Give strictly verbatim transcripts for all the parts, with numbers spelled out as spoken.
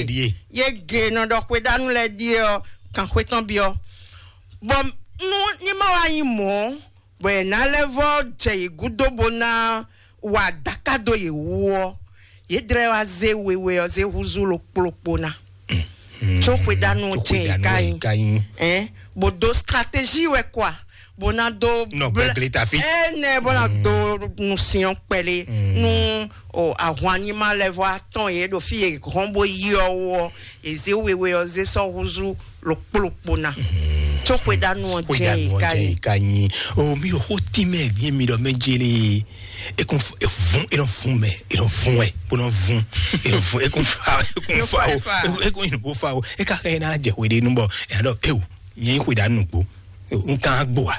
Ɖíe. Yě gě nɔ ɖɔ xwedánú lɛ́ɛ ɖíe ɔ́, kan xwé tɔn byɔ́. Bɔ nú ní ma wá nyí mɔ̌, bɔ è nǎ lɛ́ vɔ́ jɛ yě gúdo bó ná wa adáká dó yě wú ɔ́, yě dlɛ́ wá zé wewe ɔ́ zé húzú ɖokpó ɖokpó ná. Có xwedánú ɔ́ jɛ yě ká nyí. Ɛn, bó dó stratégie wɛ kwa, bó ná dó Nɔ blɛ- gbɛgblé tafi. Ɛnɛ bó ná dó nusinyɔn kpɛlé nú o ahwan ní ma lɛ́ vɔ atɔn yě ɖo fí yě hɔn bó yi ɔ́ wú ɔ́, yě zé wewe ɔ́ zé sɔ́ húzú ɖokpó ɖokpó ná. Có xwedánú ɔ́ jɛ yě ká nyí. O mi ɖo xó tín mɛ, vǐ mi ɖɔ mɛ jélé. E kún f- e vún e nɔ vún mɛ e nɔ vún wɛ bó nɔ vún e nɔ vún e kún fa e kún fa o e kún e nɔ bó fa o e ka xɛ ná jɛ xwe ɖe nú bɔ e nɔ ɖɔ ewu nyɛ yi xwe ɖa nugbo n kan gbo wa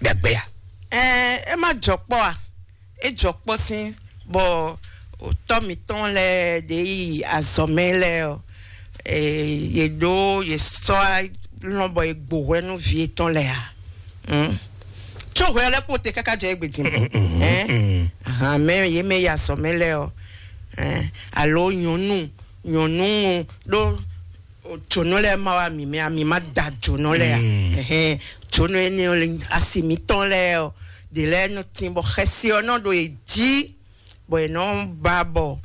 ɖagbe ya. Ɛɛ, e ma jɔ kpɔ a? E jɔ kpɔ sín bɔ otɔ mitɔn lɛ ɖe yi azɔmɛ lɛ ɔ, ee, ye ɖo ye sɔ lɔn bɔ ye gbo hwɛ nú vi etɔn lɛ a? Hmm? Tso hwɛ lɛ kpo te kaka jɔ egbe din. Ɛn? Ahan, mɛ ye mɛ ya sɔ mɛ lɛ ɔ. Ɛn? Alo nyɔnu nyɔnu ɖo jonɔ lɛ ma wa mi mɛ ami ma da jonɔ lɛ a? Ɛhɛn, jonɔ ene ɔ le asi mitɔn lɛ ɔ de lɛ nɔ tin bɔ xɛsi ɔ nɔ ɖo e jí bɔ e nɔ ba bɔ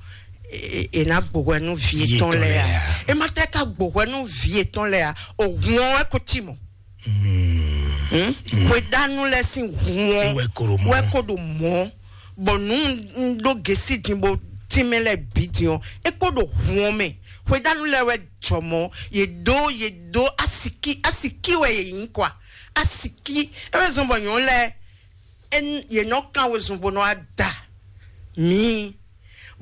e e na gbo hwɛ nú vi etɔn lɛ a? E ma tɛ ka gbo hwɛ nú vi etɔn lɛ a? O hun ɔ wɛ ko ti mɔ. Hwedanu lɛ sin hun ɔ wɛ ko ɖo mɔ, bɔ nu n ɖo gesi din bo tin mɛ lɛ bi din ɔ, e ko ɖo hun ɔ mɛ. Hwedanu lɛ wɛ jɔ mɔ, ye do ye do asiki asiki wɛ ye nyi kwa. Asiki e wɛ zɔn bɔ nyɔnu lɛ e n- ye nɔ kan wezun bó nɔ ada mǐ,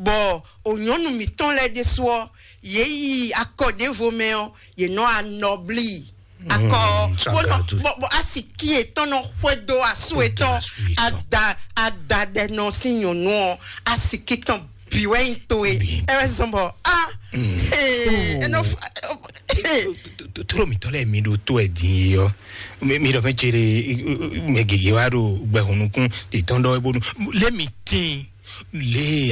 bɔ o nyɔnu mǐtɔn lɛ́ɛ ɖésú ɔ, yě yi akɔ ɖěvo mɛ ɔ, yě nɔ anɔblí akɔ ɔ, bó nɔ bɔ bɔ asiki yětɔn nɔ xwedó asú yětɔn, ada ada ɖɛ nɔ sín nyɔ̌nu ɔ, asiki tɔn bǐ wɛ nyí towe. Ɛ wɛ zɔn bɔ a ee, e nɔ fa ee. Tló mǐtɔn lɛ́ɛ mi ɖo tó ɛ din yi ɔ́, mi ɖɔ mɛ cere mɛ gěgé wá ɖo gbɛhùn nukún tètɔn ɖɔ bónú lé mi tín lé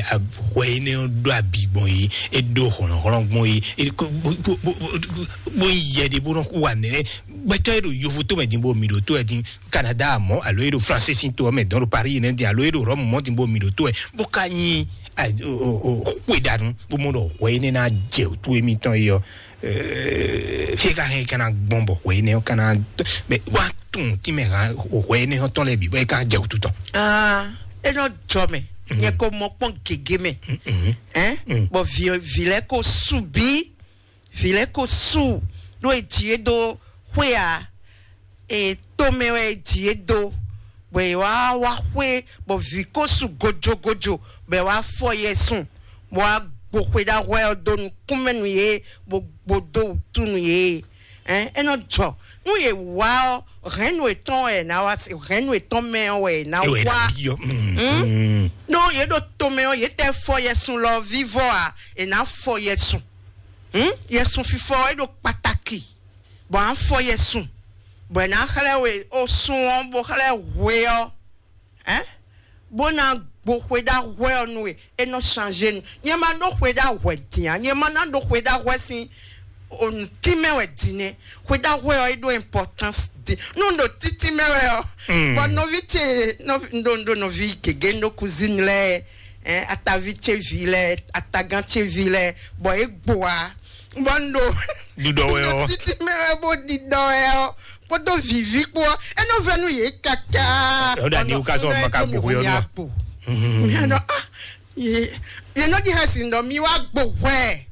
hwɛ énɛ́ ɔ́ ɖó abi gbɔn yi, é ɖó hlɔ̌nhlɔ́n gbɔn yi, bó yi yɛ ɖe bó nɔ wa nɛnɛ gbɛtɔ́ e ɖo yovo tó mɛ din bó mi ɖo tó ɛ din, Canada mɔ̌ alo e ɖo France sín to ɔ́ mɛ dɔn ɖo Paris nɛ́ din alo e ɖo Rome mɔ̌ din bó mi ɖo tó ɛ bó ka nyi xwe ɖanu bó mɔ ɖɔ hwɛ énɛ́ ná jɛ wǔtu émítɔn yi ɔ́. Fie ka hɛn kana gbɔn bɔ hwɛ énɛ́ ɔ́ kana bɛ wa tun tí mɛ hàn hwɛ énɛ́ ɔ́ tɔn lɛ bǐ bɔ é ka jɛ wútu tɔn. Ah, e nɔ jɔ mɛ, nyɛ ko mɔ kpɔn gègé mɛ. Hein? Bɔ vi vi lɛ ko su bí, vi lɛ ko su ɖó e ji e dó xwé a, e to mɛ wɛ e ji e dó, bɔ e wá wá xwé, bɔ vi ko su gojogojo, bɔ e wá fɔ yɛ sun, bɔ wá gbo xwe ɖaxwɛ ɔ́ dó nukúnmɛ nú yě, bó gbo dó wútu nú yě. Ɛn, é nɔ jɔ nú yě wá ɔ́, hɛ̌nnu yětɔn wɛ è nǎ wá se, hɛ̌nnu yětɔn mɛ ɔ́ wɛ è nǎ wá. Ɖó yě ɖo tomɛ ɔ́, yě tɛ fɔ yɛsun lɔ vívɔ a, è nǎ fɔ yɛsun. Yɛsun fifɔ ɔ́, é ɖo kpataki, bɔ à ń fɔ yɛsun, bɔ è nǎ xlɛ́ we ó sun ɔ́, bó xlɛ́ hwe ɔ́. Ɛn? Bó ná gbo xwe ɖaxwɛ ɔ́ nú we, é nɔ change nu. Nyɛ ma ɖó xwe ɖaxwɛ din a? Nyɛ ma ná ɖó xwe ɖaxwɛ sín onú tínmɛ wɛ din nɛ. Xwe ɖaxwɛ ɔ́, é ɖó importance din. Nú un ɖo títí mɛ wɛ ɔ́, bɔ nɔví ce nɔví un ɖo un ɖo nɔví gěgé un ɖo cousine lɛ́ɛ, ɛn, ataví ce vi lɛ́ɛ, atagán ce vi lɛ́ɛ, bɔ é gbo a, bɔ un ɖo ɖiɖɔ wɛ ɔ́. Títí mɛ wɛ bó ɖiɖɔ wɛ ɔ́, kpódó viví kpó ɔ́, é nɔ vɛ nú yě káká. Ɔ́ ɖa ní wúkazɔ ma ka gbogbo yɔ nɔ. Mía nɔ ah, yě yě nɔ ɖi hɛn sin ɖɔ mi wá gbo hwɛ.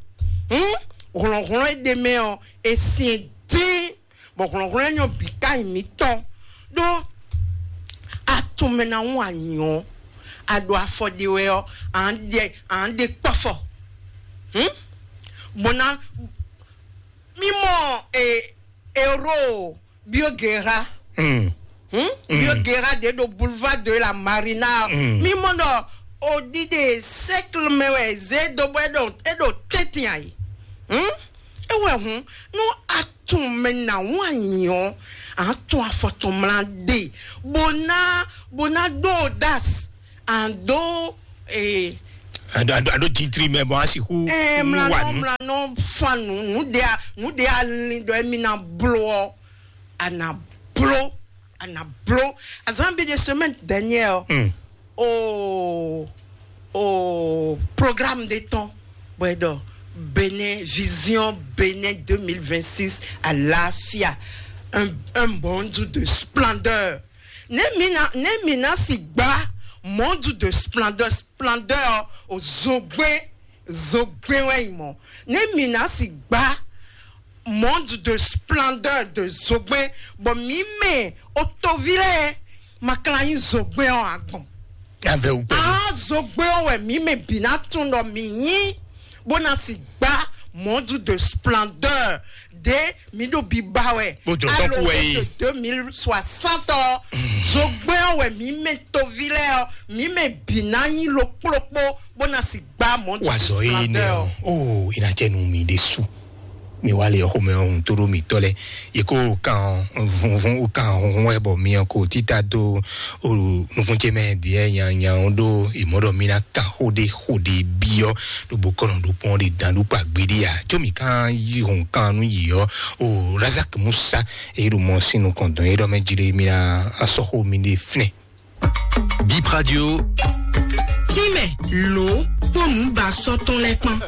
Hlɔ̌nhlɔ́n e ɖe mɛ ɔ́, e sin dín, bɔ hlɔ̌nhlɔ́n e nyɔ́ bǐ ká nyi mǐtɔn. Ɖó atunmɛ ná wún anyɔ, a ɖo afɔ ɖe wɛ ɔ́, à ń ɖe à ń ɖe kpɔ́fɔ. Bó ná mímɔ e Euro Bioguerra. Hmm? Bioguerra ɖě ɖo boulevard de la Marina. Mi mɔ ɖɔ o ɖiɖe cercle mɛ wɛ zé do bɔ é ɖo é ɖo tɛ́ntin ayi. Hmm? É wɛ hun nú a tún mɛ ná wán nyɔ, a tún afɔtɔn mla ɖe, bó ná bó ná ɖó das, a ɖó eh, Ado ado ado titri mɛ bɔ asi hu. Eh, mlanɔ mlanɔ fa nu nu de a nu de a lin dɔ emi na blo ɔ, a na blo, a na blo. Azan bi de semaine dernière ɔ. Hmm. O o programme de temps. Bɔn dɔ Bénin, vision Bénin deux mille vingt-six, à l'afia, un, un monde de splendeur. Ne mina ne mina si gba monde de splendeur, splendeur o zogbe zogbe wɛ mɔ. Ne mina si gba monde de splendeur de zogbe, bɔ mi mɛ o tovi lɛ ma kla nyi zogbe ɔ agbɔn. Avɛ wú pɛlu. Ah, zogbe ɔ wɛ mi mɛ bi na tun dɔ mi nyi, bó na si gba monde de splendeur de mi ɖo biba wɛ. Bó dɔ tɔn kú wɛ yi. De deux mille soixante ɔ, zogbe ɔ wɛ mi mɛ tovi lɛ ɔ, mi mɛ bi na nyi lokplokpo, bó na si gba monde de splendeur. Wazɔ ye nɛ o. O ina jɛ nu mi de su. Mi wá lé xomɛ ɔhún tó ɖó mǐtɔn lɛ́ɛ. Yě kó kan vunvun kan hunhun wɛ bɔ mi ko títà dó nukúnjɛ mɛ ɖíɛ nyanyan ɖó ìmọ̀ɖɔ mi ná kan xóɖé xóɖé byɔ́ ɖó bó kɔnɔ ɖó pɔn ɖe dan ɖó kpa gbeɖé a. Có mi kan yí hɔn kan nú yǐ ɔ́, o Razak Musa e ɖo mɔ sín nukɔn dɔn e ɖɔ mɛ jí ɖé mi ná asɔxo mi ɖe fínɛ. Bip Radio. Tínmɛ lǒ kpó nǔbasɔ́ tɔn lɛ́ɛ kpán.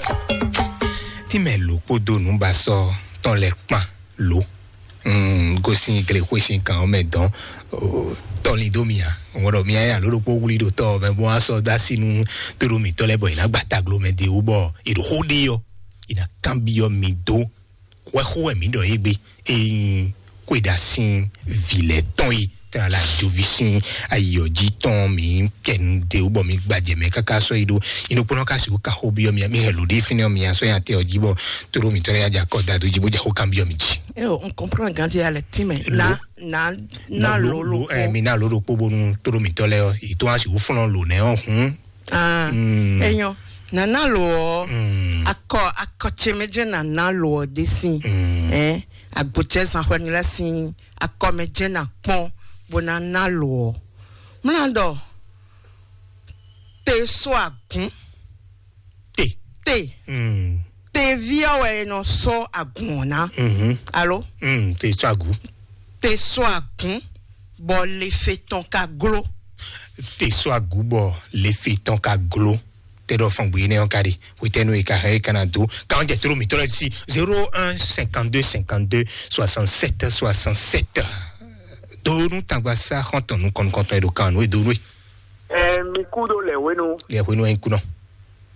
Tínmɛ lǒ kpódó nǔbasɔ́ tɔn lɛ́ɛ kpán lǒ. Mm, gosin glexwé sin kan ɔ́ mɛ dɔn. Tɔlin dó mi a ŋɔɖɔ mi aya ló ɖokpó wlí ɖo tɔ mɛ bó asɔ dó así nú tóɖó mǐtɔn lɛ́ɛ bɔ yě ná gba taglo mɛ de wú bɔ è ɖo xó ɖe ɔ́, è nǎ kanbyɔ́ mi dó. Hwɛxó wɛ mǐ ɖɔ égbé, ényí xwéɖa sín vǐ lɛ́ɛ tɔn e tlala joví sín ayiyɔ́ jí tɔn mǐ kɛnu de wú bɔ mi gbajɛ mɛ káká sɔ́ yi ɖó inokpɔ́nɔ ká sixú ka xó byɔ́ mi mi hɛn lǒ ɖé fínɛ́ mi asɔ́ nyi atɛ ɔ́ jí bɔ tóɖó mǐtɔn lɛ́ɛ nya jɛ akɔ da dó jí bó jɛ xó kan byɔ́ mi jí. Eo, n comprend ganja ya le tíme. Na na na lolo ko. Mi na lolo kpo bonu tóɖó mǐtɔn lɛ́ɛ ɔ́, yi tó wá sixú flɔ́n lǒ nɛ́ ɔ́ hǔn. Ah, enyo, nana lo ɔ, akɔ akɔ tse mɛ dze nana lo ɔ de sin. Eh, agbo tse zan xɔ ni la sin akɔ mɛ dze na kpɔn bo na na lo ɔ. Mla dɔ te so agun. Te. Te. Tevi ɔ wɛ e nɔ sɔ agun ɔ na. Alo. Te so agun. Te so agun bɔ le fe tɔn ka glo. Te so agun bɔ le fe tɔn ka glo. Tɛ ɖɔ fɔn gbe nɛ ɔn ka ɖi wetɛnu yi ka hɛn yi kana do kan jɛ toro mi tɔlɔ si zéro un cinquante deux cinquante deux soixante sept soixante sept. Do nu tagba sa xɔntɔn nu kɔnukɔntɔn yi do kan nu e do nu e. Ɛ mi kú ɖo lɛ wenu. Lɛ wenu e kunɔ.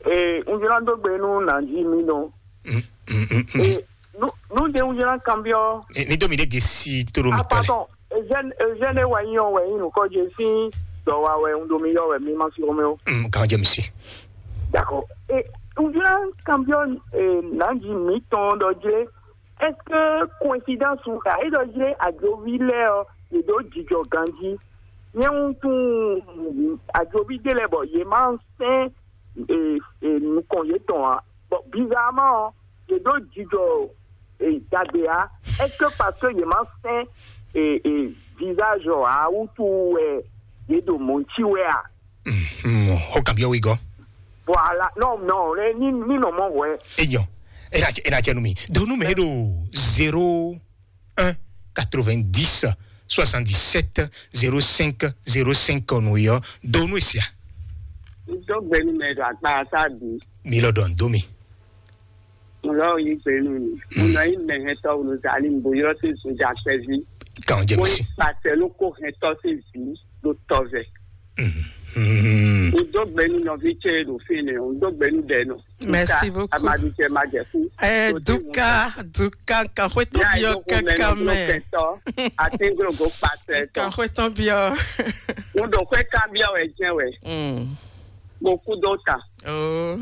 Ee, un jlá dó gbe nú nǎjí mi nɔ. Mm, mm, mm, mm. Ee, nu nu de un jlá kanbyɔ. Eh, ni do mi de gesi toro mi tɔlɛ. Apatɔ, ezɛn ezɛn e wa yi yɔn wɛ yi nukɔ je si dɔ wa wɛ un do mi yɔ wɛ mi ma si ome o. Mm, kan jɛ mi si. D'accord. E un jlá kanbyɔ, ee, nǎjí mi tɔn dɔ je. Est-ce que coïncidence ou ka e dɔ je ajovi lɛ ɔ, e do jijɔ ganji. Nyɛ un tun ajovi de lɛ bɔ ye ma sɛn e, e, nukɔn yětɔn ǎ. Bon, bizarrement ɔ́, yě ɖó jijɔ e, dagbe ǎ. Est-ce que parce que yě má sɛn e, e, visage ɔ́ ǎ wútu wɛ yě ɖo mɔ̌ cí wɛ a? Xɔ kan byɔ́ wí gɔ́. Voilà, non, non, ní ní nɔ mɔ hwɛ. Eyɔ, ena ena cɛ nu mi. Do nu mɛ ɖo zéro un quatre-vingt-dix soixante-dix-sept zéro cinq zéro cinq nu yɔ. Do nu esia. Dɔgbɛnu mɛ ɖo akpa sa bi. Mi lɔ dɔn do mi. Ŋlɔ yi gbe nú mi. Ŋlɔ yi mɛ hɛntɔ wolo zali bo yɔ se zunja sɛvi. Kan jɛ mi si. Pàṣẹ ló kó hɛntɔ se zi ló tɔ vɛ. Ŋdó gbɛnu nɔvi tse ɖo fi nɛ, ŋdó gbɛnu ɖɛ nɔ. Merci beaucoup. Amadu tse ma jɛ fún. Eh, Duka, Duka, kan xwe tɔn biɔ kankan mɛ. Ati grogo pàṣẹ tɔ. Kan xwe tɔn biɔ. Ŋdó xwe kan biɔ wɛ jɛ wɛ. Mo kú dó ta. Oh.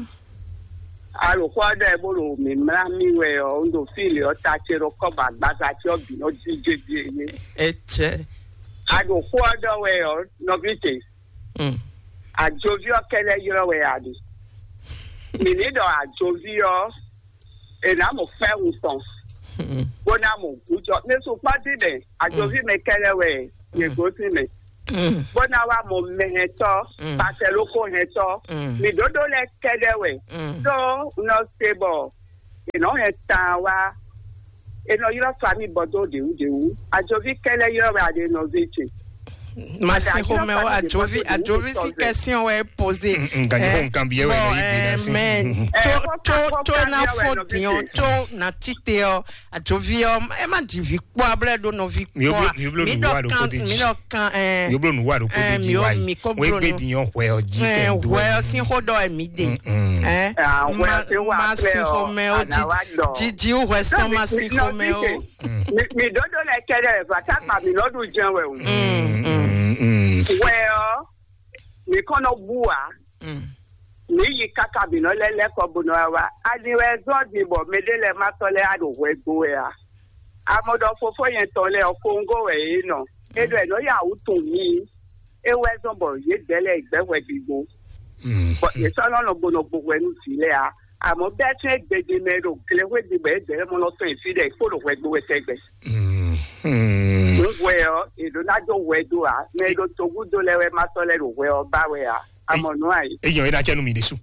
Alòxɔ ɖe bó ɖo mǐmlá mì wɛ ɔ́, un ɖo fí lě ɔ́, ta ce ɖo kɔ́ bɔ agbaza ce ɔ́ bǐ nɔ díje jí é. Etsɛ. Alòxɔ ɖɔ wɛ ɔ́, nɔví ce. Mm. Ajoví ɔ́ kɛlɛ ylɔ́ wɛ a ɖe. Mǐ ní ɖɔ ajoví ɔ́, è nǎ mɔ fɛ́ wun tɔn, Mm. bó ná mɔ gǔjɔ. Ní sukpɔ́ dín ɖɛ, ajoví mɛ kɛlɛ wɛ yě gosín mɛ. bó ná wá mɔ mɛhɛntɔ́, pasɛlóko hɛntɔ́, mǐ ɖóɖó lɛ́ɛ kɛ́ɖɛ́ wɛ. Tó nɔ se bɔ è nɔ hɛn tan wá, è nɔ ylɔ́ famille bɔ dó ɖěwúɖěwú. Ajoví kɛ́ lɛ́ ylɔ́ wɛ a ɖe nɔví ce. Masin xomɛ ó, ajovi ajovi si question wɛ poze. Nkan yi xo nkan bi yɛ wɛ nɔ yi gbe na si. Mɛ tso tso tso na fɔ diɔ tso na tite ɔ, ajovi ɔ ɛ ma ji vi kpɔ ablɛ ɖo nɔvi kpɔ a. Mi ɖɔ kan mi ɖɔ kan ɛ. Mi blo nu wa ɖo ko di ji wa yi. Mi ko blo nu. Wegbe diɔ hwɛ ɔ ji kɛ do. Hwɛ ɔ sin xo ɖɔ ɛ mi de. Ɛ ma sin xomɛ ó, jiji hwɛ sɔn ma sin xomɛ ó. Mi ɖɔɖɔ lɛ kɛɖɛ vata kpa mi nɔ ɖu jɛn wɛ o. Wɛ ɔ, mi kɔn nɔ bu wa. Mi yi kaka mi nɔ lɛ lɛ kɔ bo nɔ wa. Ani wɛ zɔn di bɔ mɛɖe lɛ ma tɔ lɛ a ɖo hwɛ gbo wɛ a? Amɔ ɖɔ fofo yɛn tɔn lɛ ɔ, Kongo wɛ yé nɔ. E ɖɔ ɛ nɔ ya wú tun mi. E wɛ zɔn bɔ yě dɛ lɛ gbɛ hwɛ ɖi gbo. Bɔ yě sɔ́ nɔ nɔ gbo nɔ gbo hwɛ nú vǐ lɛ a? Àmọ́ bɛ́ tún é gbejí mɛ ɖo glexwé ɖi bɔ é dɛ̌ mɔ nɔ tɔn fí ɖɛ kpó ɖo hwɛ dó wɛ tɛgbɛ. Nǔ hwɛ ɔ́, è ɖǒ ná dó hwɛ dó ǎ. Mɛ e ɖo togúdo lɛ́ɛ wɛ ma sɔ́ lɛ́ ɖo hwɛ ɔ́ ba wɛ ǎ. Amɔ nǔ a yě. Eyɔn é ná jẹ́ nú mi ɖésú.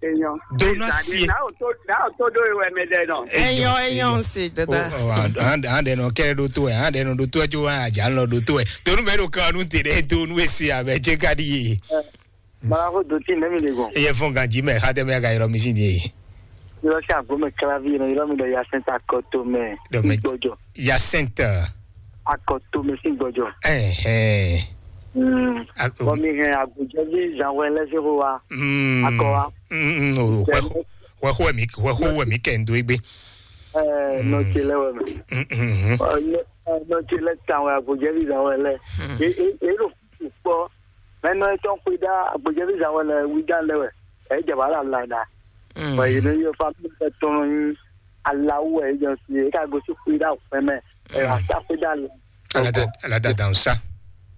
Eyɔn. Dó ná Ezali, sie. Náà ò tó náà ò tó dó ewɛ mɛ ɖɛ nɔ. Eyɔn eyɔn se dada. Àndɛ nɔ kɛ ɖó tó ɛ, àndɛ nɔ ɖó tó ɛ, tso wá àjà ńlọ ɖó tó ɛ. Tonú bɛ ɖo kan nu tè ɖe dó nu esi abɛ jɛ ka ɖi ye. Balaxo dotí nɛmi de gbɔn. Eye fún ganji mɛ xatɛ mɛ ka yɔrɔ mi sin de. Yɔrɔ sí àgbo mɛ kílávi yẹn yɔrɔ mi dɔ yasɛn ta kɔtó mɛ. Dɔ mɛ gbɔjɔ. Yasɛn ta. Akɔtó mɛ sí gbɔjɔ. Ɛhɛn. Mm. Bɔn mi hɛn agbojɛvi zanwɛ lɛ sí xó wa. Mm. Akɔ wa. Mm, mm, o, hwɛ hwɛ hwɛ mi hwɛ hwɛ mi kɛ ndo egbe. Ɛɛ nɔ tse lɛ wɛ mɛ. Mm, mm, mm. Nɔ tse lɛ tan wɛ agbojɛvi zanwɛ lɛ. E e e ɖo kpɔ. Mɛ nɔ etɔn xwe ɖa agbojɛvi zan wɛ lɛ wi dan lɛ wɛ. Ɛ jɛ wala la da. Bɔn yɛ nɔ yɔ fa mi bɛ tɔn nyi alawu wɛ jɔ si e ka gosi xwe ɖa fɛn mɛ. Ɛ asa xwe ɖa la. Alada alada dan sa.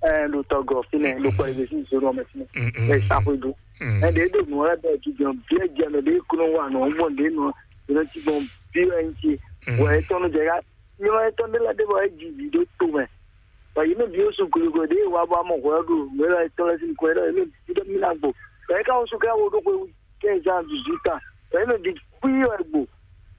Ɛ lo tɔgɔ finɛ lo kpɔ ebe si zoro mɛ finɛ. Ɛ sa xwe do. Ɛ de do nu wɛ bɛ jujɔ biɛ jɛ mɛ de kunu wa nɔ gbɔn de nɔ yɛ nɔ ti gbɔn bi wɛ nti. Wɛ etɔn nɔ jɛ ka Nyɔmɔ etɔn ɖé lɛ́ɛ ɖé bɔ é ji vǐ ɖó to mɛ. Bɔ yě mɛ bǐ ó sú glegle ɖě e wa bɔ amɔ hwɛ ɔ́ ɖo nǔ élɔ́ etɔn lɛ́ɛ sín nukɔn é ɖɔ yě mɛ bǐ ɖɔ mí ná gbo. Bɔ é ka wú sú ká wo ɖó xwe quinze ans dix-huit ans. Bɔ yě mɛ bǐ kpí wɛ gbo.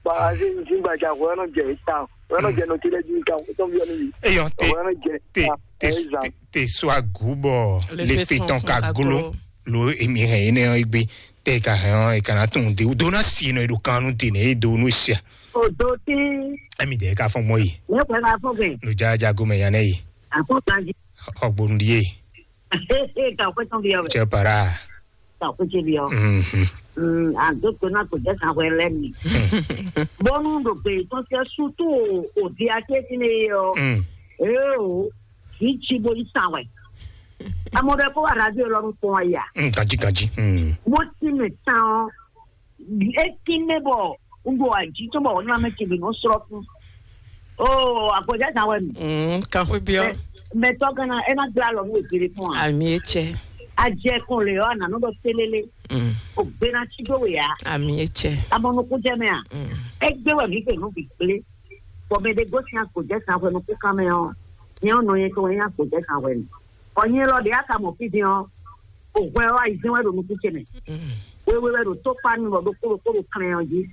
Bɔ azé zíngbaja hwɛ ɔ́ nɔ jɛ yě tawun. Hwɛ ɔ́ nɔ jɛ nɔ ce lɛ́ɛ jí tawun. Étɔn byɔ́ nú yě. Eyɔn te Hwɛ ɔ́ nɔ jɛ te tawun. Te Ɛ zan. Te te so agu bɔ Le le fe fe tɔn tɔn ka fún glo aglo. Lo emi hɛn énɛ́ ɔ́ gbe. Te ka hɛn ɔ́ e ka ná tunwun de do ná si nɔ e ɖo kan nú te nɛ e do nú sia. Odo tí Emi dɛ ka fɔn gbɔn yi. Ne kò ká fún kè. Ló já já gómɛ yan nɛ yi. Àkó kan jí. Ɔgbónu di ye. Ee ka kó tán bí ɔbɛ. Cɛ para. Ka kó tse bí ɔ. Mhm. Àdó tó náà kò jẹ́ kan wẹ lẹ́nu. Bọ́nú ɖo gbè tó ṣe sútú òdi akéésí ni yọ. Mm. Ee o, kì í tsi bo yí san wɛ. Amɔ ɖe kó wà radio lɔ nu kpɔn ya. Mm, kanji kanji. Mm. Mo ti mɛ tán. Eki mɛ bɔ n ɖo aji tó bɔ ɔnà mɛ tebe nɔ srɔ fún. Oo, àgbɔjá zan wɛ mi. Mm, kan xwe biɔ. Mɛ tɔ gana ena gbla lɔ nu ebere fún a. Ami etsɛ. Ajɛ kun le yɔ ananɔ dɔ selele. Mm. O gbena tsi do we ya. Ami etsɛ. Amɔnukun jɛ mɛ a. Mm. Egbe wɛ mi fɛ nu bi gble. Bɔ mɛ de gosi agbɔjá zan wɛ nukun kan mɛ ɔ. Nyɛ ɔnɔ yɛ tɔ wɛ nyɛ agbɔjá zan wɛ mi. Ɔ nyɛ lɔ de aka mɔ fi din ɔ. O hwɛ ɔ ayi zɛn wɛ ɖo nukun ce mɛ. Mm. Wewe wɛ ɖo tó kpa nu bɔ ɖokpó ɖokpó ɖo klɛn ɔ jí.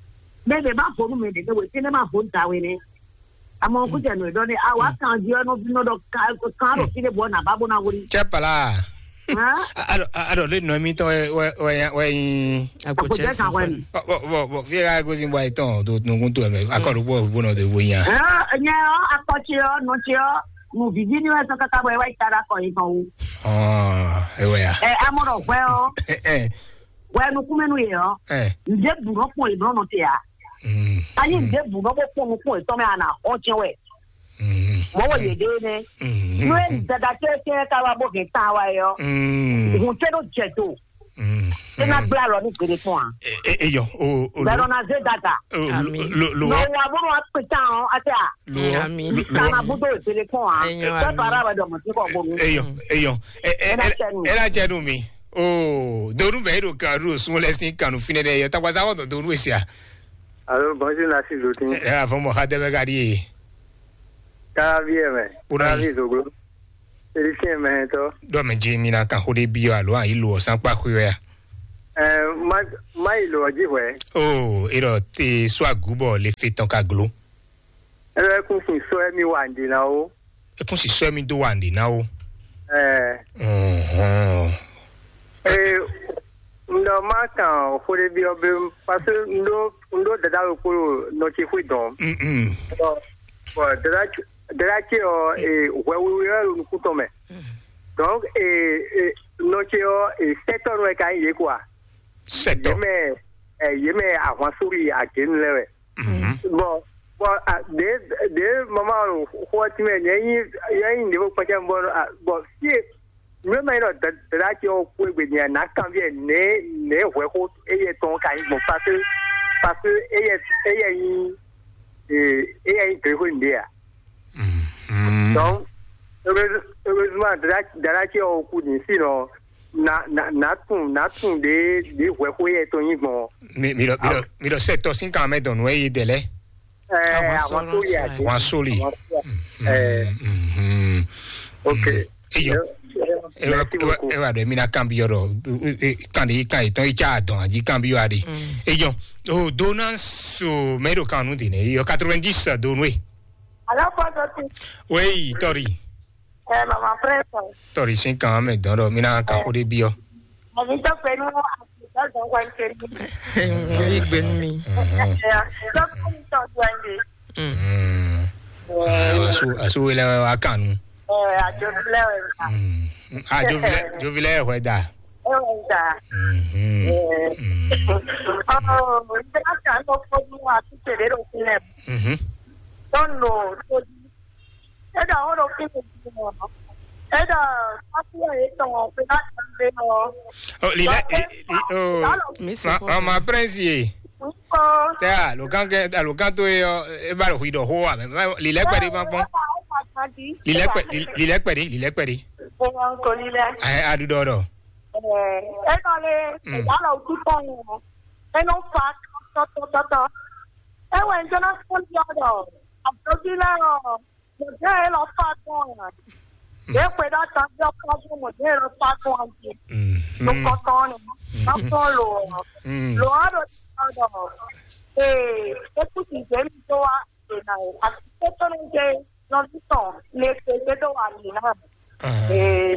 Mɛ ɖe ma vo nu mɛ ɖe ne wetí ne ma vo nu ta we nɛ. Amɔ kú jɛ nù ɖɔ ne awa kan jí ɔnɔ nɔ ɖɔ kan ɖo fi ɖe bɔ na ba bo na wuli. Cɛ pala. Hã? Aɖɔ aɖɔ le nɔ mi tɔn wɛ wɛ wɛ wɛ yin. Àpò jẹ́ kan wɛ ni. Bɔ bɔ bɔ fi ka gosi bɔ ayi tɔn do nukun to mɛ akɔ ɖokpó bo nɔ do bo yin. Hã? Nyɛ ɔ akɔtsi ɔ nɔtsi ɔ nu vivi ni wɛ sɔ kaka bɔ ɛ wa yi ta ɖe akɔ yi tɔn wu. Ɔn ewɛ ya. Ɛ amɔ ɖɔ hwɛ ɔ. Ɛ ɛ. Hwɛ nukunmɛnu yɛ ɔ. Ɛ. Nde bu nɔ kpɔn yi nɔ nɔ te ya. Mm. Ani nde bu nɔ bɔ kpɔn nukun etɔn mɛ ana xɔ tiɛ wɛ. Mm. Mɔ wɔ yɛ de nɛ. Mm. Nue dada tɛ tɛ ka wa bɔ kɛ ta wa yɔ. Mm. Hun tɛ do jɛ to. Mm. Tɛ na gbla lɔ ni gbede fún wa. E e yɔ o o. Bɛ nɔ na ze dada. Ami. Lo lo. Nɔ wa bɔ nɔ wa kpe tan ɔ ati a. Lo. Ami. Lo. Kana budo gbede fún wa. Eyɔn. Tɛ ami. Para wa dɔ mɔ ti kɔ bonu. Eyɔn eyɔn. Ɛ ɛ ɛ ɛ la jɛ nu mi. Oo donu bɛ e ɖo kan ɖo sun lɛ sin kanu finɛ dɛ yɔ takpasa wɔtɔ donu esia. Alo bɔnsi na si do tin. Ɛ afɔ mɔ ha dɛbɛ ka di ye. Tabi ɛ mɛ. Kpona yi. Tabi zoglo. Félicien mɛ tɔ. Ɖɔ mɛ jí mi ná kan xó ɖé byɔ́ alo ayi lo ɔ̀sán kpa xwé wɛ a? Ɛ, má má yi lɔ jí hwɛ. O, e ɖɔ te sɔ agǔ bɔ le fe tɔn ka glo. Ɛ, kún sin sɔ mi wà ndě ná o. E kún si sɔ mi dó wà ndě ná o. Ɛ, Ɔhɔn. Ee, n ɖɔ má kan xó ɖé byɔ́ bé, parce que n ɖó n ɖó dada ɖokpó ɖo nɔ ce xwé dɔn. Mm, mm. Bɔ dada ce dada ce ɔ, ee, hwɛ wiwi wɛ ɖo nukún tɔn mɛ. Donc, ee, ee, nɔ ce ɔ, ee, sɛtɔ́ nɔ wɛ ka nyí yě quoi. Yě Sɛtɔ. Mɛ, ɛ, yě mɛ ahwan sórí agěnu lɛ́ɛ wɛ. Mhm. Bɔn bɔn a ɖě ɖě mama ɖo xó ɔ́ tínmɛ nyɛ nyí nyɛ nyí nǐvo kpɛcɛ bɔ a bɔn fie nǔ e ma nyí ɖɔ dada ce ɔ́ kú egbe nyɛ ná kanbyɔ́ nɛ̌ nɛ̌ hwɛxó éyɛ tɔn ka nyí gbɔn parce que parce que éyɛ éyɛ nyí ee éyɛ nyí gěxwé nǔɖé a. Mhm. Donc heureusement dada dada ce ɔ́ kú ní sinɔ na na na tún na tún ɖě ɖě hwɛxó éyɛ tɔn nyí gbɔn. Mi mi ɖɔ mi ɖɔ mi ɖɔ sɛ tɔ sín kan mɛ dɔn nǔ e yi dɛ lɛ. Ɛ, Àwọn àwọn tó yẹ sọ̀rọ̀ àjò. Wọn sóli. Àwọn tó yẹ. Ɛ, Mhm. Ok. Eyɔ. Merci beaucoup. Ewa ɖe mi na kan bi yɔrɔ kan de kan etɔn etsa adɔn aji kan bi yɔ ade. Eyɔ. O dona so mɛ ɖo kan nu de ne eyɔ quatre-vingt-dix do nu e. Alo, Pɔtɔti. Wei tɔri. Ɛ, Mama Frɛsɔ. Tɔri sin kan mɛ dɔn ɖɔ mi na kan o de bi yɔ. Mami tɔ pɛ nu a ti tɔ dɔn kwan kɛ ni. Yi gbe nu mi. Ɛ, tɔ kɔ ni tɔ dɔn de. Asu asu wele wa kan nu. Ɛ, a jo filɛ wɛ. Ajo filɛ jo filɛ hwɛ da. Ɛ, wɛ da. Ɔ, n tɛ ka kan nɔ kpɔdu a ti tɛ de ɖo filɛ. Tɔn no to di. E ɖɔ wo ɖo fi mi. E ɖɔ afi yɛ tɔn o pe na kan de o. Ɔ lilɛ. Mi se Ma- kɔn. Mama prince ye. Tɛ alokan kɛ alokan to ye ɔ e ba ɖo hui ɖɔ xo wa mɛ lilɛ kpɛ de ma kpɔn. Lilɛ kpɛ lilɛ kpɛ de lilɛ kpɛ de. Ɛ, aɖu ɖɔ ɖɔ. Ɛ, e nɔ le Mm. Ìyá lọ tú tán yẹn. E nɔ fa tɔtɔtɔtɔ. E wɛ n jẹ́ náà fún yọ dɔ. Àbójú lẹ́rọ̀. Mo jẹ́ e lọ fa tán yẹn. Ye kwe ɖa ta jɔ kɔjú mo jẹ́ e lɔ fa tán yẹn. Mo kɔtɔn ni. Má fún lo. Lo ɔ́ ɖo ti sɔ dɔ. Ee, e kú ti jẹ́ mi tó wa. Àti tó tó ní jẹ́ nɔví tɔn lè ṣe gbé tó wà nínú. Ee,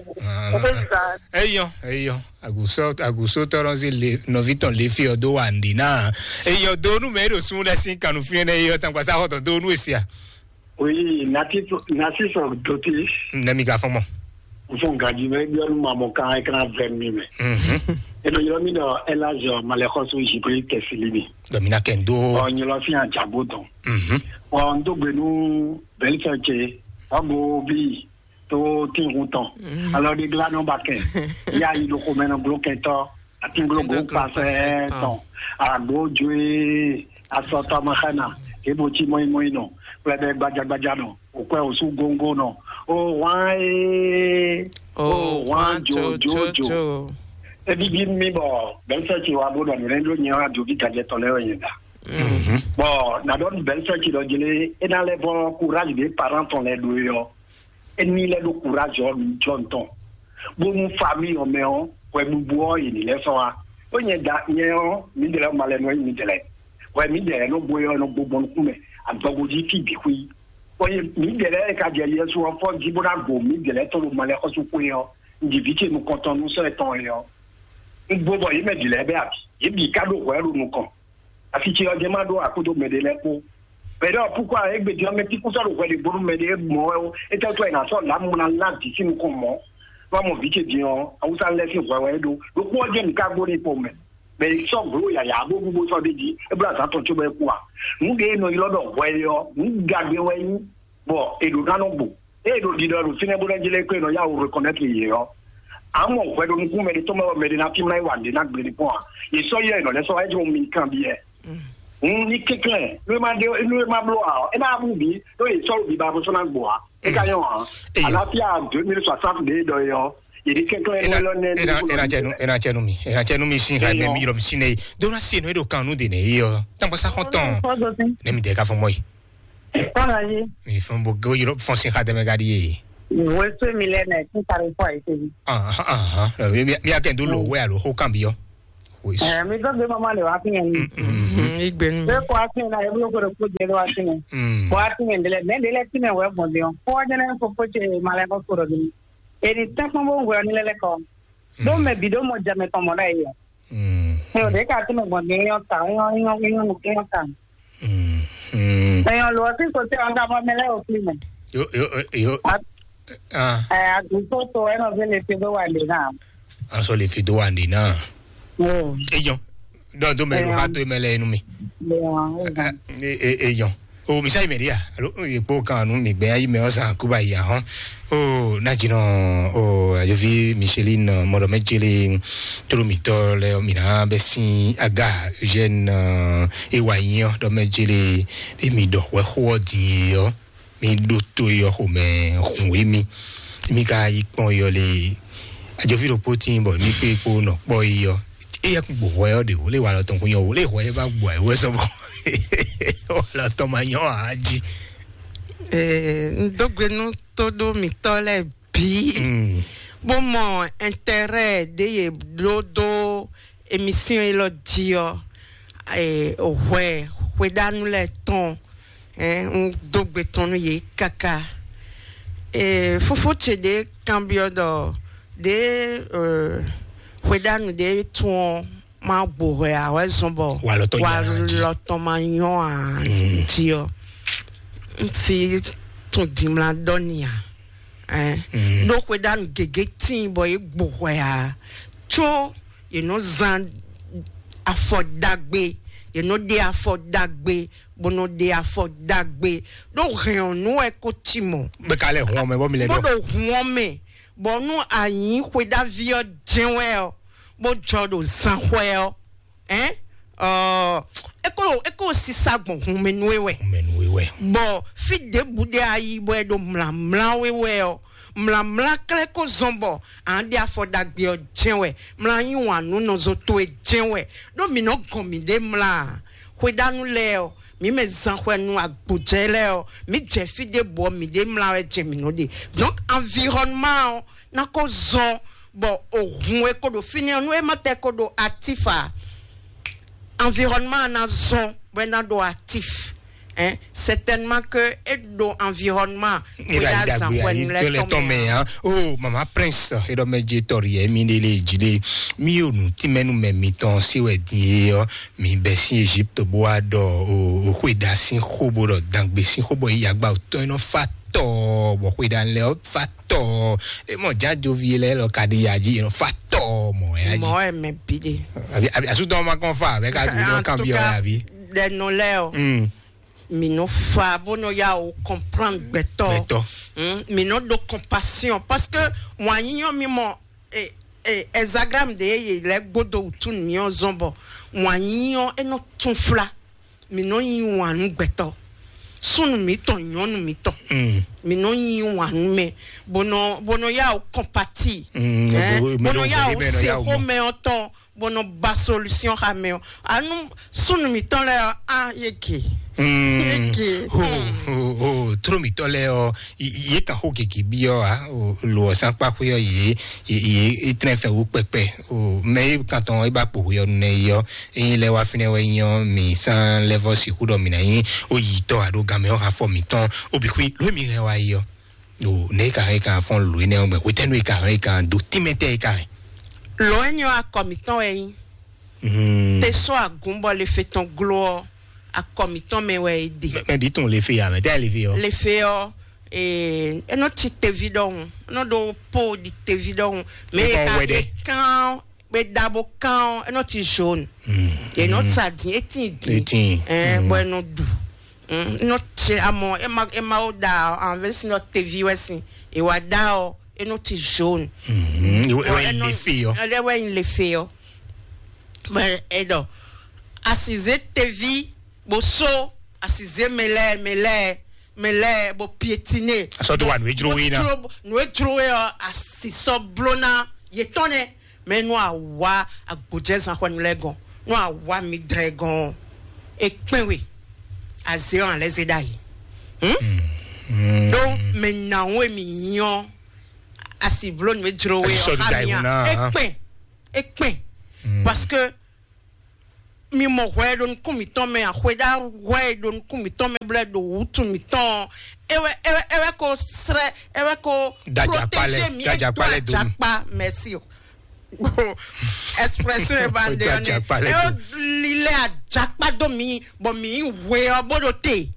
o bɛ zan. Eyɔ eyɔ agusɔ agusɔ tɔrɔ si le nɔvi tɔn le fi ɔ do wa ndi na. Eyɔ do nu mɛ e ɖo sun ɖe sin kanu fi ne eyɔ tan gbasa xɔtɔ do nu esia. Oui, nati nati sɔ doti. Ne mi ka fɔn mɔ. N fɔ gaji mɛ ebi ɔnu ma mɔ kan e kana vɛ mi mɛ. Mhm. E nɔ yɔrɔ mi dɔ elazɔ malɛxɔso jibri kɛsili mi. Dɔ mi na kɛ n do. Ɔ nyɔlɔ fi ajago dɔn. Mhm. Ɔ n do gbe nu bɛlifɛ ce ɔgo bi to tihun tɔn. Alɔ de gla nɔ ba kɛ. Ya yi ɖo xomɛ nɔ glo kɛtɔ. Atinglogo kpasɛ tɔn. Agbo joe asɔtɔ mɔ xana. Ebo ti mɔyi mɔyi nɔ. Kplɛ bɛ gbajagbaja nɔ. Okwɛ osu gongo nɔ. O wan ee. O wan jo jo jo. Ebibi mi bɔ bɛlifɛ ce wa bo nɔ nulɛ ɖo nyɛ wa dovi gajɛ tɔ lɛ wɛ nyɛ da. Bɔn na dɔ bɛlifɛ ce dɔ jele ena lɛ bɔ courage de parent tɔn lɛ do yɔ. Eni lɛ ɖo courage ɔ jɔ ntɔn. Bonu famille ɔ mɛ ɔ hwɛbubu ɔ yi ni lɛ sɔ wa. O nyɛ da nyɛ ɔ mi de lɛ ma lɛ nɔ yi mi de lɛ. Hwɛ mi de lɛ nɔ gbo yɔ nɔ gbo gbɔn nukun mɛ. Agbɔgbo ji fi bi hui. Ɔ ye mi de lɛ ka jɛ yɛsu ɔ fɔ ji bo na go mi de lɛ tɔn lo ma lɛ xɔsu ko yɔ. Ndi vi ce nukɔntɔn nu sɔ etɔn yɔ. N gbo bɔ yi mɛ di lɛ bɛ abi. Yi bi ka ɖo hwɛ ɖo nukɔn. Asi ce ɔ́ jɛ má ɖó akúdo mɛ ɖé lɛ́ɛ kpó. Mɛ ɖɔ púpọ̀ égbé din ɔ́, mɛ tí kú sɔ́ ɖo hwɛ ɖě bónú mɛ ɖé mɔ̌ wɛ ó, é tɛ́ wú tɔ́ è nǎ sɔ́ lǎmú ná lá vǐ sín nukɔn mɔ̌. Wá mɔ vǐ ce din ɔ́, awúsá lɛ́ɛ sín hwɛ wɛ é ɖó. Ɖokpó ɔ́ jẹ́ nǔ ká gbó ní kpo mɛ. Mɛ è sɔ́ glǒ yǎyá bó bú bó sɔ́ ɖ'é jí, é bló azǎn tɔn cóbɔ é kú a? Nǔ ɖé e nɔ ylɔ́ ɖɔ hwɛ é ɔ́, nǔ ɖagbe wɛ é nyí, bɔ è ɖǒ ná nɔ gbo. Ée è ɖo ɖiɖɔ ɖo fínɛ́ bó ná jlɛ́ kó è nɔ yá wǔ reconnaître yě ɔ́, a mɔ hwɛ ɖo nukún mɛ ɖé tɔn mɛ wɛ mɛ ɖé ná fí mlá yi wǎ ɖé ná gblé ní kpɔ́n a? Yě sɔ́ yɛ è nɔ lɛ́ sɔ́ wá é jɔ mi kanbyɔ́. Ní kɛnklɛ́n nú é má ɖé nú é má bló ǎ ɔ́, é ná bú bǐ ɖó yě sɔ́ ɖo biba bó sɔ́ ná gbɔ ǎ. É ka nyɔ́ ǎ. Àlàáfíà deux mille soixante ɖé ɖɔ é ɔ́, yě ní kɛnklɛ́n nú é lɔ nɛ́ ní. Ena cɛnu ena cɛnu mi ena cɛnu mi sin ha mɛ mi yɔrɔ mi sin ne do na se no e ɖo kan nu de ne yi ɔ tankpasa xɔntɔn ne mi de ka fɔ mɔ yi. Kɔla ye. Mi fɛn bo go yɔrɔ fɔn sin ha dɛmɛ ga di ye. Weswe mi lɛ nɛ tún tari fɔ ayi tevi. Ahan, ahan. Mi mi akɛ do lo wɛ alo ho kan bi yɔ. Wes. Ɛ mi dɔ gbe mama le wa fi yɛn ni. Mhm, igbe nu. Be ko ati na eblo ko ko je wa fi yɛn. Mm. Ko ati yɛn de lɛ, mɛ de lɛ ti mɛ wɛ bɔn de. Ko wa jɛnɛ ko ko che ma lɛ ko ko do ni. E ni tɛ kpɔn bo wɛ ni lɛ lɛ kɔ. Do mɛ bi do mɔ jɛ mɛ tɔn mɔ da yi. Mm. Ɛ o de ka ti mɛ bɔn de yɔ ta, yɔ yɔ yɔ yɔ ta. Mm, mm. Ɛ yɔ lo si ko te ɔn da mɔ mɛ lɛ o fi mɛ. Yo, yo, yo. Ah. Ɛ a du so to ɛ nɔ ve le te do wa de na. Aso le fi do wa de na. Mm. Eyan. Dɔ do mɛ lo ha to mɛ lɛ nu mi. Eyan. O misa yi mɛ dia. Alo e kpo kan nu mi gbɛ ayi mɛ ɔsan kuba yi ahɔn. O na jinɔ o ajovi Micheline mɔdɔ mɛ jeli toro mitɔ lɛ mi na bɛ sin aga Eugène e wa nyi ɔ dɔ mɛ jeli e mi dɔ wɛ xo ɔ di ɔ. Mi ɖo to yi ɔ́ xomɛ hun wě mi. Mi ka yi kpɔn yi ɔ́ lé. Ajovi ɖokpó tíin bɔ mi kpé kpó nɔ kpɔ yi ɔ́. Éyɛ́ kún gbo hwɛ ɔ́ ɖe wò lé wa lɔ tɔn kún nyɔ wò lé hwɛ é va gbo ayǐ wɛ sɔ bɔ wa lɔ tɔn ma nyɔ ǎ jí. Ee, n dó gbe nú tóɖó mǐtɔ́ lɛ́ɛ bǐ, bó mɔ ɛntɛrɛ ɖě yě ɖó dó emisyon élɔ́ jí ɔ́, hwɛ hweɖánu lɛ́ɛ tɔn, un dó gbe tɔn nú yě káká. Fófó ce ɖě kanbyɔ́ ɖɔ ɖě hweɖánu ɖě tún ɔ́ má gbo hwɛ ǎ wɛ zɔn bɔ walɔ tɔn ma nyɔ ǎ jí ɔ́, un si tún dimla ɖɔ n'i ǎ. Ɖó hweɖánu gěgé tíin bɔ yě gbo hwɛ ǎ, có yě nɔ zán afɔ ɖagbe, yě nɔ ɖe afɔ ɖagbe, bó nɔ ɖe afɔ ɖagbe. Ɖó hɛn ɔ́ nú wɛ ko cí mɔ̌. Bɛ ka lɛ hun ɔmɛ bɔ mi lɛ bó ɖɔ ɖo hun ɔmɛ, bɔ nú a nyǐ xweɖaví ɔ́ jɛ́n wɛ ɔ́, bó jɔ ɖo zánxwɛ ɔ́, ɛn ɔ é kó é kó sisa gbɔn hun mɛ nú é wɛ. Mɛnu wɛ. Bɔ fí ɖěbǔ ɖé a yi bɔ é ɖo mlǎmlá wé wɛ ɔ́, mlǎmlá klɛ́ kó zɔn bɔ a nǎ ɖe afɔ ɖagbe ɔ́ jɛ́n wɛ. Mlá yí wǎn nú nɔzo towe jɛ́n wɛ. Ɖó mǐ nɔ gɔn mǐɖée mlá ǎ. Xweɖánu lɛ́ɛ ɔ́, mǐ mɛ zan xwɛ nú agbǒjɛ lɛ́ɛ ɔ́, mǐ jɛ fí ɖěbǔ ɔ́, mǐɖée mlá wɛ jɛ mǐ nɔ ɖe. Donc environnement ɔ́ ná kó zɔn bɔ ohun e ko ɖo fínɛ́ ɔ́, nú é ma tɛ ko ɖo actif a, environnement ɔ́ ná zɔn bɔ é ná ɖo actif. Hein? Certainement que é ɖo environnement. Eba yi dagbe ayi to lɛ tɔn mɛ hã. Oh, mama prince eɖɔ mɛ dze tɔri yɛ mi ɖe le dzi ɖe. Mi yo nu timɛnu mɛ mitɔn si wɛ din ye yɔ. Mi bɛ sin Egypte bo wa ɖɔ o xwe da sin xo bo ɖɔ dangbe sin xo bɔ yi yagba o tɔn nɔ fa tɔ bɔ xwe da lɛ fa tɔ. E mɔ jajovi lɛ lɔ ka ɖi ya dzi nɔ fa tɔ mɔ ya dzi. Mɔ ɛ mɛ bi de. Abi abi asutɔ ma kɔn fa abɛ ka du nɔ kan bi ɔ abi. Ɖe nɔ lɛ o. Mm. Mi nɔ fa bó nɔ ya o comprendre gbɛtɔ. Gbɛtɔ. Mm, mi nɔ ɖo compassion parce que wanyiyɔ mi mɔ e e exagram de ye lɛ gbodo wutu ni ɔ zɔn bɔ wanyiyɔ e nɔ tún fla. Mi nɔ yi wan nú gbɛtɔ, súnnu mǐtɔn, nyɔnu mǐtɔn. Mm. Mi nɔ yi wan nú mɛ, bó nɔ bó nɔ ya o compati. Mm, bó nɔ ya o se xó mɛ ɔ tɔn bó nɔ ba solution xa mɛ ɔ. Anu súnnu mǐtɔn lɛ ɔ a ye ke. Mm. Ye ke. Ho ho ho tro mǐtɔn lɛ ɔ ye kan xó gègé byɔ́ a lo ɔ̀sán kpákpé ɔ yě yě yě trɛ́n fɛn wú kpɛkpɛ. O mɛ yi kan tɔn e ba kpo hwe ɔ nɛ yi ɔ eyin lɛ wá fínɛ́ wɛ nyɔ mi sán lɛvɔ sixú ɖɔ mi ná nyí o yi tɔ aɖo gan mɛ ɔ hafɔ mǐtɔn o bi xwí lómi hɛn wá yi ɔ. O ne ka hɛn kan fɔn lóe nɛ ɔgbɛ hwetɛnu e ka hɛn kan do tímɛtɛ e ka hɛn. Lɔ enyi ɔ akɔ mǐtɔn wɛ nyí. Te sɔ agúnbɔ le fe tɔn gló ɔ, akɔ mǐtɔn mɛ wɛ e ɖe. Mɛ bi tun le fe ya mɛ tɛ le fe ɔ. Le fe ɔ, ee enɔ ti tevi ɖɔhun, enɔ ɖo po ɖi tevi ɖɔhun. Mɛ e ka e kan be ɖabo kan ɔ, enɔ ti jaune. Enɔ sa din, etin din. Etin. Ɛɛ bɔ enɔ ɖu. Enɔ tse amɔ ema ema wo da anvesi nɔ tevi wɛ sin, ewa da ɔ enɔ ti jaune. Ewa yi le fe yɔ. Ele wɛ yin le fe yɔ. Mɛ edɔ asize tevi bó só asize mɛ lɛ mɛ lɛ mɛ lɛ bó piétiné. Asɔ do wa nu edzro wé na. Nu edzro wé ɔ asisɔ bló ná yetɔn nɛ. Mɛ nú àwa agbòjɛzán xwɛnu lɛ́ɛ gɔn, nú àwa mi dlɛ gɔn ɔ́, é kpɛ́n we, azě ɔ́, alɛ́ zé ɖ'ayǐ. Hmm? Donc, maintenant, oui, mignon. Asi vlo nú e jlo we. Asi sɔ ɔ, du xa da mia. Ihu na, e hein. Kpɛn, e kpɛn. Parce que mi mɔ hwɛ e ɖo nukún mǐtɔn mɛ, axwéɖá hwɛ e ɖo nukún mǐtɔn mɛ, blɛ ɖo wútu mǐtɔn. Ewɛ, ewɛ, ewɛ ko srɛ, ewɛ ko. Dajakpa lɛ, protégé mi, dajakpa lɛ do. Jakpa, merci. Expression e ba nde ɔne. Dajakpa lɛ do. Ewɛ lilɛ ajakpa do mi, bɔ mi hwe ɔ bó ɖo te.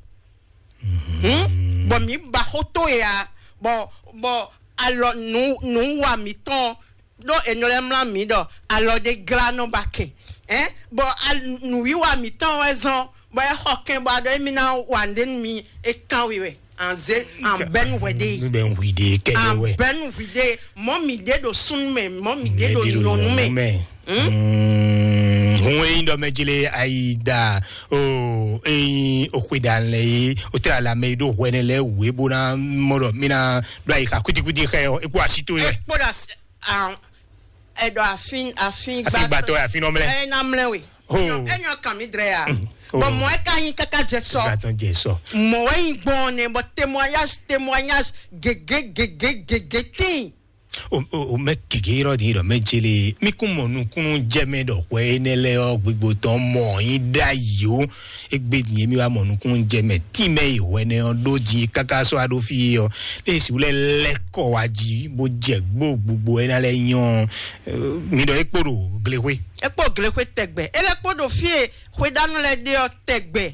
Hmm? Bɔ mi ba xó tó ya, bɔ, bɔ alɔ nǔ, nǔ wa mǐtɔn ɖó è nɔ lɛ́ mlá mǐ ɖɔ alɔ ɖé glá nɔ ba kɛn. Hein? Bɔ al-, nǔwiwa mǐtɔn wɛ zɔn, bɔ é xɔ kɛn bɔ a ɖɔ émí ná wa nǔɖé nú mi, é kán wi wɛ. Anze, an bɛ́ nú hwɛ ɖe. Nu bɛ ŋui ɖe kɛ yɔ An wɛ. Bɛ́ nú hwi ɖe. Mɔ mi ɖe ɖo súnnu mɛ, mɔ mi ɖe ɖo nyɔnu mɛ. Hmm? Hun eyi ɖɔ mɛ jele ayi da o eyi o xwe da lɛ yi o tɛ ala mɛ yi ɖo hwɛ ne lɛ we bo na mɔ ɖɔ mi na ɖo ayi xa kwitikwiti xɛ o ekpo asi to yɛ. Ekpo da s-, ah, eɖɔ afin, afin Afin gbatɔ, afin nɔ mlɛ. Ɛ na mlɛ we. Oh. Enyo, enyo kan mi drɛ ya. Mm. Oh. Bɔn mɔ ɛ ka yin kaka jɛ sɔ. Gbatɔ jɛ sɔ. Mɔ ɛ yin gbɔn ne bɔ témoignage, témoignage gege gege gege tin. O, o, o mɛ gege yɔrɔ di yɔrɔ mɛ jele mi kún mɔ nukúnnú jɛ mɛ ɖɔ hwɛ énɛ́ lɛ ɔ gbogbo tɔn mɔ yín ɖ'ayǐ o. Egbe din mi wá mɔ nukúnnú jɛ mɛ tí mɛ yi hwɛ nɛ ɔ ɖó di kaka sɔ aɖó fi ɔ lé si wlɛ lɛ kɔ wá jí bó jɛ gbó gbogbo ɛ ná lɛ nyɔ. Mi ɖɔ é kpo ɖo glexwé. É kpo glexwé tɛgbɛ é lɛ kpo ɖo fí e xwéɖánú lɛ ɖe ɔ tɛgbɛ.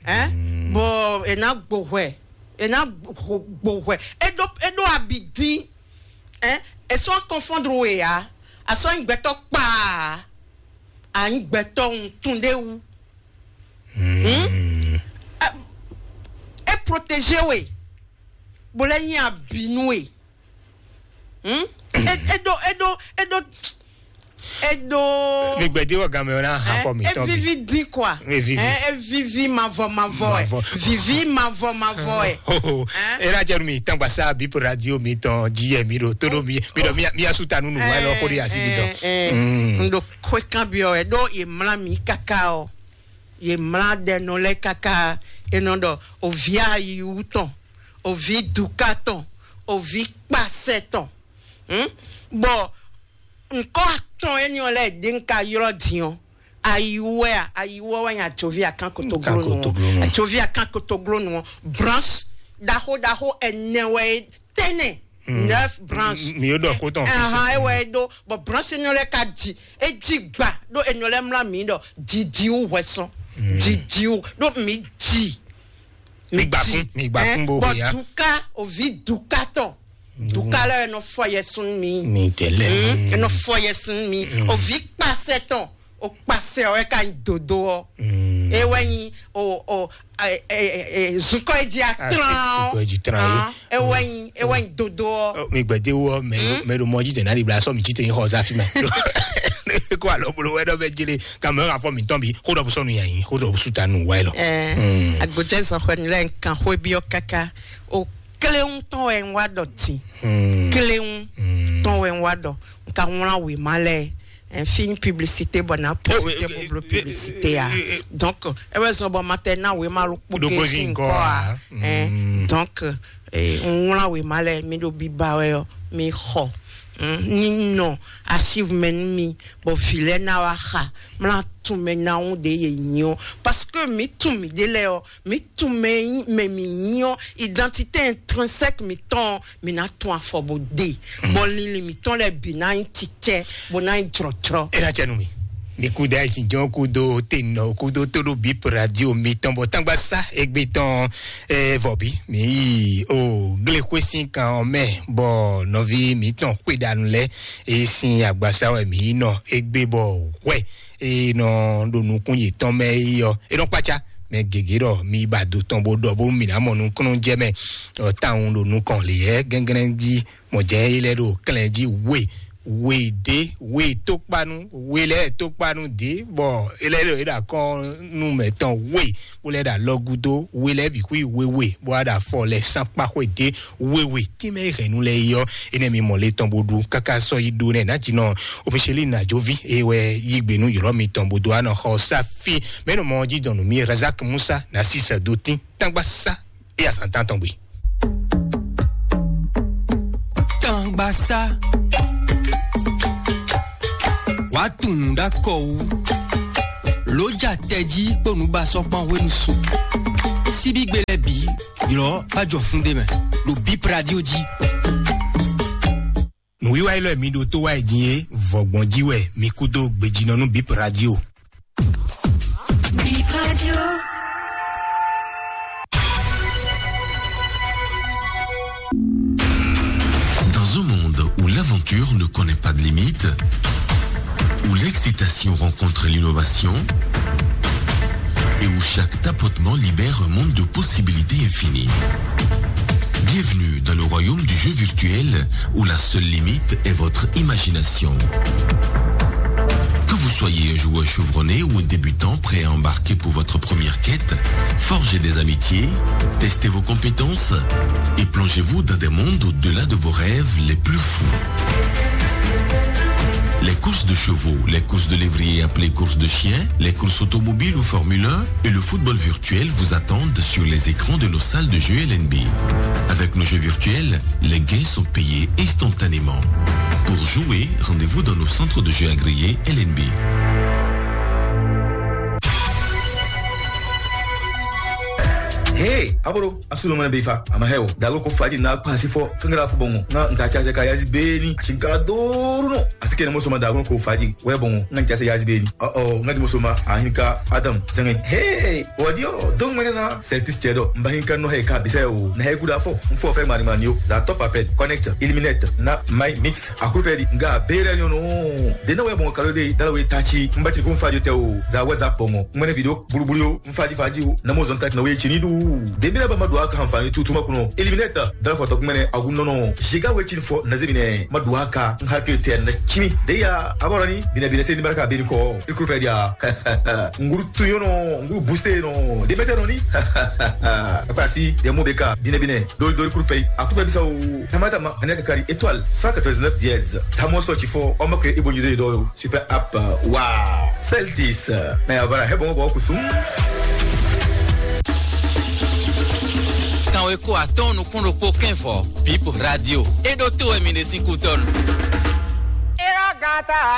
Hein? Bɔ è nǎ gbo hwɛ, è nǎ gbo hwɛ. É ɖó, é ɖó abi dín. Hein? È sɔ́ confondre we ǎ. A sɔ́ nyí gbɛtɔ́ kpaa. A nyí gbɛtɔ́ wuntun ɖé wú. Hmm? É, é protégé we. Bó lɛ́ nyí abi nú we. Hmm? É, é ɖó, é ɖó, é ɖó, é ɖó. Mi gbɛdé wɔ gamɛ ɔ na ha xɔ mi tɔn bi. Evivi dín quoi. Evivi. Hein, evivi mavɔ mavɔ ɛ. Mavɔ. Vivi mavɔ mavɔ ɛ. Oh, oh. Hein? E na jɛ nu mi tangbasa bi po radio mi tɔn ji yɛ mi ɖo to ɖo mi mi ɖɔ mi mi asu ta nunu wa lɔ ko de asi mi tɔn. N ɖo xwe kan bi ɔ ɛ ɖo ye mla mi kaka ɔ. Ye mla ɖɛ nɔ lɛ kaka e nɔ ɖɔ ovi ayi wu tɔn, ovi duka tɔn, ovi kpasɛ tɔn. Hmm? Bɔ nkɔ atɔn énɛ́ ɔ́ lɛ́ɛ ɖě un ka ylɔ́ din ɔ́, ayiwú wɛ a? Ayiwú ɔ́ wɛ nyí atsoví akán kotoglónu ɔ́. Atsoví akán kotoglónu ɔ́, branche ɖaxó ɖaxó ɛnɛ wɛ é tɛ́nɛ. Neuf branches. Mi yóò dɔ kó tɔn. Ahan, é wɛ é ɖó. Bɔ branche énɛ́ lɛ́ɛ ka ji, é jí gba ɖó énɛ́ lɛ́ɛ mlá mǐ ɖɔ jiji wú hwɛ sɔn. Jiji wú ɖó mǐ ji. Mi gbakun, mi gbakun bo bɔ ya. Duka, ovi duka tɔn. Duka lɛ nɔ fɔ yɛ sun mi. Mi tɛlɛ. Hmm, nɔ fɔ yɛ sun mi. Ovi kpasɛ tɔn, o kpasɛ ɔ ka nyi dodo ɔ. E wɛ nyi o o zukɔ e ji atlan ɔ. Zukɔ e ji tlan ye. E wɛ nyi e wɛ nyi dodo ɔ. Mi gbɛde wɔ mɛ mɛ ɖo mɔ ji tɛ na di bla sɔ mi ji tɛ nyi xɔ zafi mɛ. Ko alɔ bolo wɛ dɔ bɛ jele. Kan mɛ ka fɔ mi tɔn bi ko dɔ bu sɔnu yanyi ko dɔ bu suta nu wa yi lɔ. Ɛɛ agbojɛ zɔn xɔ ni lɛ nkan xɔ bi ɔ kaka o kléwu tɔn wɛ n wa dɔ tin. Kléwu tɔn wɛ n wa dɔ n ka wlan wema lɛ. Ɛn fi publicité bɔ na publicité bɔ blo publicité ya. Donc e wɛ zɔn bɔ ma tɛ na wema lo kpo ke si nkɔ a. Ɛn donc n wlan wema lɛ mi ɖo biba wɛ ɔ mi xɔ. Ni nɔ archive mɛ nú mi bɔ vi lɛ na wa xa mla tun mɛ na ŋu ɖe ye nyi ɔ. Parce que mi tun mi ɖe lɛ ɔ mi tun mɛ nyi mɛ mi nyi ɔ. Identité intrinsèque mi tɔn mi na tun afɔ bo de bɔ linlin mi tɔn lɛ bi na nyi titɛ bo na nyi jrɔtrɔ. E na cɛ nu mi. Mi ku da yi jɔn ku do te nɔ ku do to do bip radio mi tɔn bɔ tangba sa egbe tɔn. Vɔbi mi yi o gle xwe sin kan ɔ mɛ bɔ nɔvi mi tɔn xwe danu lɛ e sin agbasa wɛ mi yi nɔ egbe bɔ hwɛ e nɔ ɖo nukun yětɔn mɛ yi ɔ e nɔ kpatsa mɛ gěgé ɖɔ mi ba do tɔn bó ɖɔ bó mi ná mɔ nukúnnú jɛ mɛ ɔ táwọn ɖo nukɔn lè yɛ gɛngɛn jí mɔ jɛ yi lɛ ɖo klɛn jí we we dé we tókpanu we lɛ tókpanu dé bɔ e lɛ ɖo e ɖo akɔnu mɛ tɔn we bó lɛ ɖo alɔgudo we lɛ bǐ xwí wewe bó wá ɖo afɔ lɛ sán kpáxwé dé wewe tínmɛ e hɛ̌nnu lɛ yi ɔ́ enɛ mi mɔ le tɔn bó ɖu káká sɔ́ yi ɖó nɛ nǎjínɔ omiṣelí nàjòví e wɛ yí gbe nú yɔ̌lɔ́ mitɔn bó dó anɔ xɔ sáfí mɛ nɔ mɔ jí dɔn nú mi razak musa nà sí sɛ dó tín tágbá sá e azǎn tán tɔn gbe. Gbasá. Wàá tunwun ɖó akɔ wú. Lǒ ja tɛjí kpó nǔbasɔ́kpán hwenu su. Síbígbe lɛ́ɛ bǐ, ylɔ̌ bá jɔ fún ɖé mɛ, ɖo Bip Radio jí. Nǔwiwa élɔ́ e mi ɖo tó wá yi din é, vɔ̌gbɔn jí wɛ mi kú dó gbejínɔ nú Bip Radio. Bip Radio. Dans un monde où l'aventure ne connaît pas de limite, où l'excitation rencontre l'innovation et où chaque tapotement libère un monde de possibilités infinies. Bienvenue dans le royaume du jeu virtuel où la seule limite est votre imagination. Que vous soyez un joueur chevronné ou un débutant prêt à embarquer pour votre première quête, forgez des amitiés, testez vos compétences et plongez-vous dans des mondes au-delà de vos rêves les plus fous. Les courses de chevaux, les courses de lévrier appelées courses de chiens, les courses automobiles ou Formule un et le football virtuel vous attendent sur les écrans de nos salles de jeu L N B. Avec nos jeux virtuels, les gains sont payés instantanément. Pour jouer, rendez-vous dans nos centres de jeu agréés L N B. Hey, aboro, asu no mene be fa, ama heo. Dago ko faji na kwa si fo, kengela fo bongo. Na nta cha se ka yazi beni, chinga doru no. Asike ne mo soma dago ko faji, we bongo. Na cha se yazi beni. Oh oh, nga di mo soma, ahinka Adam, zenge. Hey, odio, dong mene na, Celtics chedo. Mba hinka no he ka bise o. Na he kuda fo. Mfo fe mari mani yo. Za top apel, connect, eliminate, na my mix. Akupeli nga bere nyono. Dena we bon kalo de dala we tachi. Mba ti kun faji te o. Za WhatsApp bongo. Mene video bulubulu yo. Mfaji faji o. Na mo zon tachi na we chini du. Dembele ba ma do aka hanfani tutu ma kuno. Eliminate. Dala foto kumene agun nono. Jiga we chini fo na zemine. Ma do aka. Nhake te na chimi. De ya aborani. Bine bine se ni baraka beni ko. Ikupeli ya. Nguru tuyono. Nguru booster no. Demete no ni. Akpasi. Demo beka. Bine bine. Dori dori kurupe. Akupe bisa o. Tama tama. Anya kakari étoile cent quatre-vingt-dix-neuf dièse. Tamo so chifo. Omo ke ibo nyide do. Super app. Wow. Celtis. Mais voilà, he bon bon kusum. Kan we ko atɔn nukun ɖokpó kɛn vɔ. Bip Radio. E ɖo to wɛ mi ɖe sín kú tɔn.